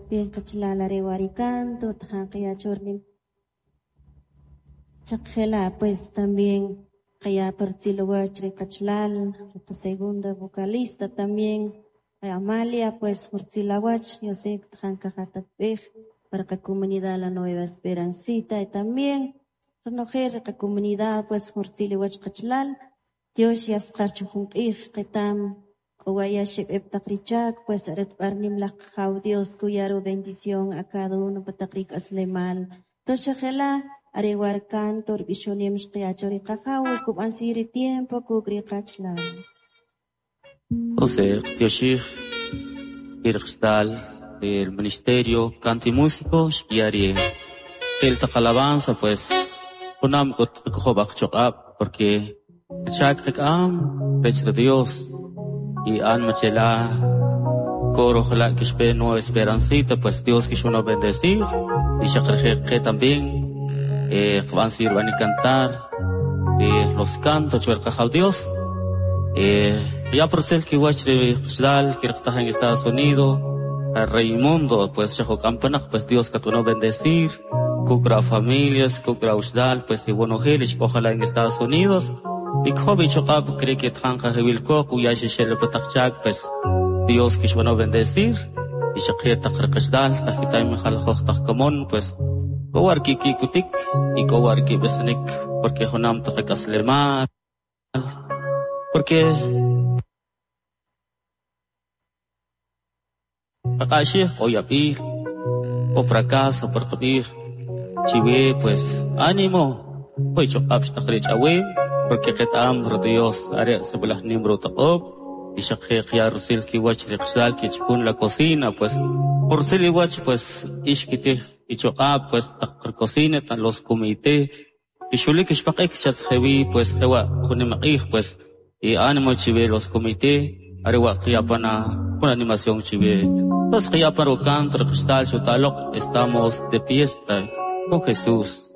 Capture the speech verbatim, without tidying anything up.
Bien qachlal are wa ri canto tajan qiyachurnim chaqjela pues también qaya partzilowach ri qachlal ri segunda vocalista también Amalia pues jurtzilawach yo sé tajan kajatatb'ej para qa comunidad La Nueva Esperancita y también ronojel ri qa comunidad pues jurtziliwach qachlal Dios yasqar chujun q'ij qitam k'owaya xib'ib taq richak pues aret b'arnim laj qajaw Dios kuyaru bendición a cada uno pataq rik'aslemal toxajela are war canto rb'ixonem xqiyacho ri qajaw kub'ansi ri tiempo kuk' ri qachlal. Entonces, Tioshij, Kirchstal, el ministerio, canto y músico, xkiari el alabanza, pues, unam kot kojob'aj choq'ab, porque chak qik'am rech ri Dios y alma chela coro ojalá que xpe Nueva Esperancita, pues Dios que uno bendecir y xaqrje que también eh qb'an sirvan y cantar eh, los cantos chuel qajaw Dios eh ya procel que wach ri qchlal que en Estados Unidos al Raimundo pues xajo campanaq pues Dios que uno bendecir kukra familias kukra ushdal pues y bueno helich ojalá en Estados Unidos y kjobi choqab cree que tjanqa jibilko kuya xixel pataqchak pues Dios que bueno bendecir y xaqir taqrqashdal qajitay mijal joj taqkamon pues kowar ki kikutik y kowar ki besnik porque jonam taqakaslemal porque qaqaxij qoyab'il o fracaso por qb'ij chiwe pues ánimo hoy choqab xtaqrich awim porque qet'am ro Dios are sib'alaj nim ro taq'ob y xaqij ya rusil ki wach riqxal ki chkun la cocina pues ursil iwach pues ixkitij ichoqab pues taq cocina tan los comité y xulik ixpaq'ik xatzjewi pues jewa junimaq'ij pues y ánimo chiwe los comité are wa qiyapana una animación chiwe los qiyaparo canto riqxtal xutaloq estamos de fiesta con Jesús.